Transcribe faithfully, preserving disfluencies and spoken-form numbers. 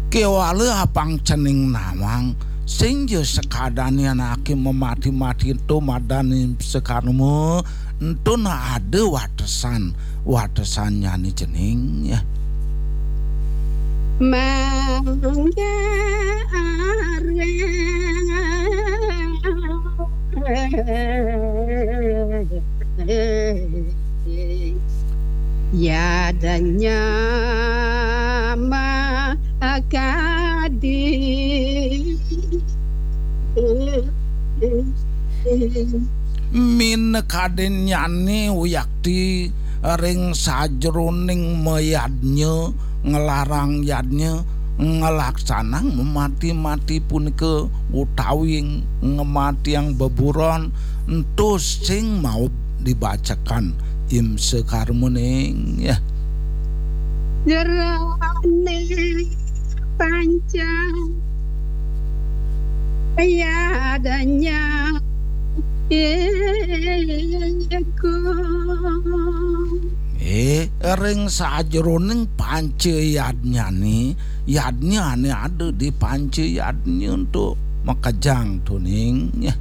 Kewala apang cening nawang, sing ja sakadane anake mamati-mati ento madan Imsa Karma, ento na ada watesan, watesannyane cening, ya. Mangga areng yadanya makadi. Minakadinnyane wiakti ring sajroning mayadnya, nglarang yadnya, nglaksanang mamati-mati punika utawi ngamatiang beburon, ento sing maut dibacakan Imsa Karmaning, ya. Jerone panca yadanya iku. Eh, ring sajroning panca yadnyane, yadnyane ada di panca yadnya ento makejang tuning, ya.